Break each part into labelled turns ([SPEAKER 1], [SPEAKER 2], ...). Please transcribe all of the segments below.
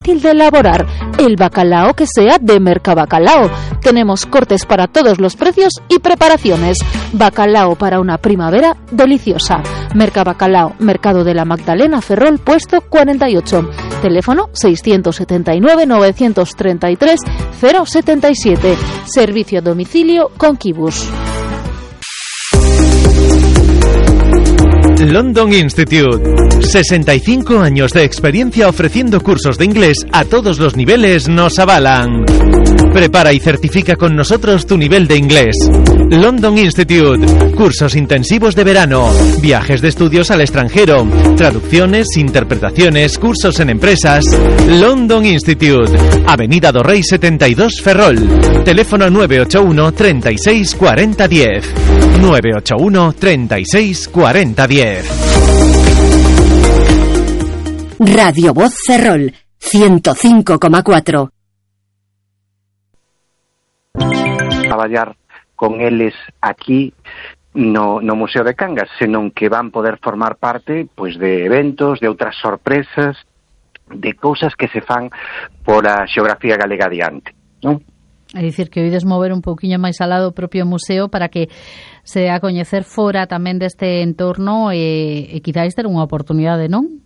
[SPEAKER 1] fácil de elaborar, el bacalao que sea de Mercabacalao. Tenemos cortes para todos los precios y preparaciones. Bacalao para una primavera deliciosa. Mercabacalao, Mercado de la Magdalena, Ferrol, puesto 48. Teléfono 679 933 077. Servicio a domicilio con Kibus.
[SPEAKER 2] London Institute. 65 años de experiencia ofreciendo cursos de inglés a todos los niveles nos avalan. Prepara y certifica con nosotros tu nivel de inglés. London Institute. Cursos intensivos de verano, viajes de estudios al extranjero, traducciones, interpretaciones, cursos en empresas. London Institute. Avenida do Rei 72, Ferrol. Teléfono 981 36 40 10. 981 36 40 10.
[SPEAKER 3] Radio Voz Ferrol 105,4.
[SPEAKER 4] Traballar con eles aquí no Museo de Cangas, senón que van poder formar parte pois de eventos, de outras sorpresas, de cousas que se fan por a xeografía galega adiante, non?
[SPEAKER 5] É dicir, que oides mover un pouquiño máis alá do propio museo para que se dé a coñecer fora tamén deste entorno e quizáis ter unha oportunidade, non?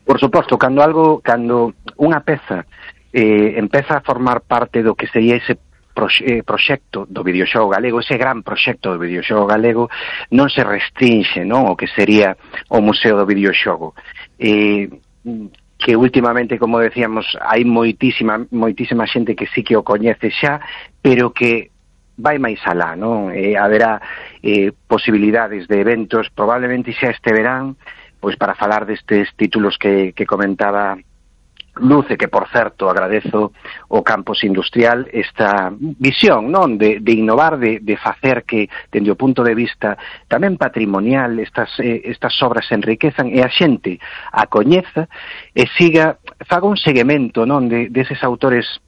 [SPEAKER 4] Por suposto, cando unha peza empeza a formar parte do que sería ese proxecto do videoxogo galego, ese gran proxecto do videoxogo galego, non se restrinxe, non, o que sería o Museo do Videoxogo. Que últimamente, como decíamos, hai moitísima xente que sí que o coñece xa, pero que vai máis alá, non? Haberá posibilidades de eventos, probablemente xa este verán, pois para falar destes títulos que comentaba Luce, que por certo agradezo o campus industrial esta visión, non, de innovar, de facer que dende o punto de vista tamén patrimonial estas obras se enriquezan e a xente a coñeza e faga un seguimento, non, deses autores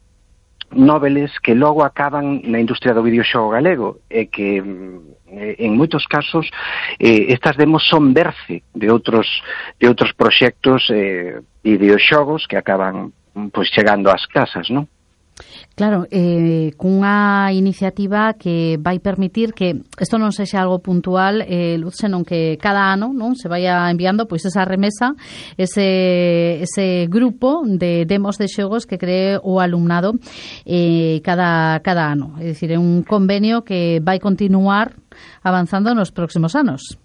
[SPEAKER 4] noveles que logo acaban na industria do videoxogo galego e que en moitos casos estas demos son berce de outros proxectos videoxogos que acaban pois chegando ás casas, non?
[SPEAKER 5] Claro, cunha iniciativa que vai permitir que isto non sexa algo puntual, Luz, senón que cada ano, non, se vaya enviando pois esa remesa, ese grupo de demos de xogos que cree o alumnado cada ano. É dicir, é un convenio que vai continuar avanzando nos próximos anos.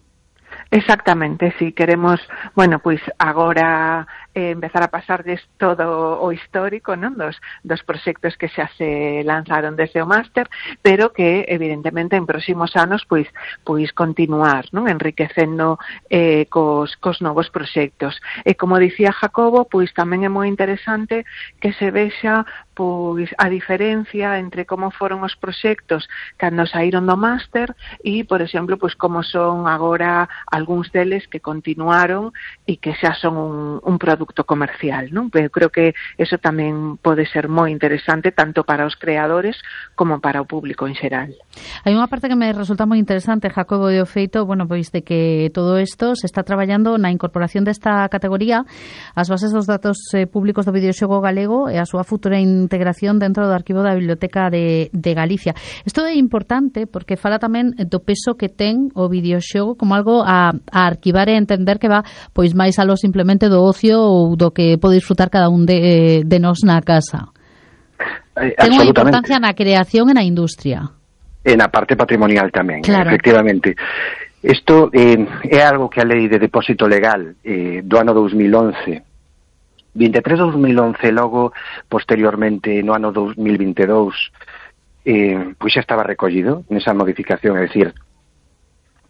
[SPEAKER 6] Exactamente, si queremos, bueno, pois agora empezar a pasarles todo o histórico, non, dos proxectos que xa se lanzaron desde o máster, pero que evidentemente en próximos anos pois continuar, non, enriquecendo cos novos proxectos. E como dicía Jacobo, pois tamén é moi interesante que se vexa pois a diferencia entre como foron os proxectos cando saíron do máster e, por exemplo, pois como son agora algúns deles que continuaron e que xa son un produto comercial, non? Eu creo que eso tamén pode ser moi interesante tanto para os creadores como para o público en xeral.
[SPEAKER 5] Hai unha parte que me resulta moi interesante, Jacobo, de o feito, bueno, pois de que todo isto se está traballando na incorporación desta categoría ás bases dos datos públicos do videoxogo galego e a súa futura integración dentro do arquivo da Biblioteca de Galicia. Isto é importante porque fala tamén do peso que ten o videoxogo como algo a arquivar e entender que va pois máis aló simplemente do ocio ou do que pode disfrutar cada un de nós na casa. Ten unha importancia na creación e na industria.
[SPEAKER 4] E na parte patrimonial tamén,
[SPEAKER 5] claro.
[SPEAKER 4] Efectivamente. Isto é algo que a Lei de Depósito Legal do ano 2011 23 de 2011, logo posteriormente no ano 2022 pois xa estaba recollido nesa modificación, é dicir,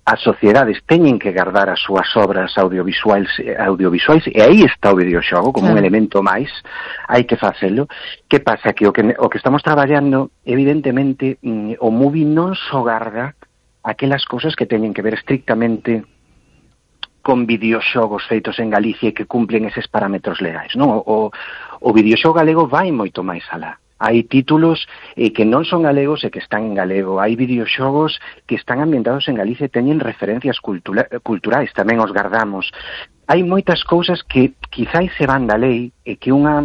[SPEAKER 4] as sociedades teñen que guardar as súas obras audiovisuais e aí está o videoxogo como un elemento máis, hai que facelo. Que pasa? Que o que estamos traballando, evidentemente, o MUBI non só garda aquelas cousas que teñen que ver estrictamente con videoxogos feitos en Galicia e que cumplen eses parámetros legais, non? O videoxogo galego vai moito máis alá. Hai títulos que non son galegos e que están en galego. Hai videoxogos que están ambientados en Galicia e teñen referencias culturais, tamén os gardamos. Hai moitas cousas que quizáis se van da lei e que unha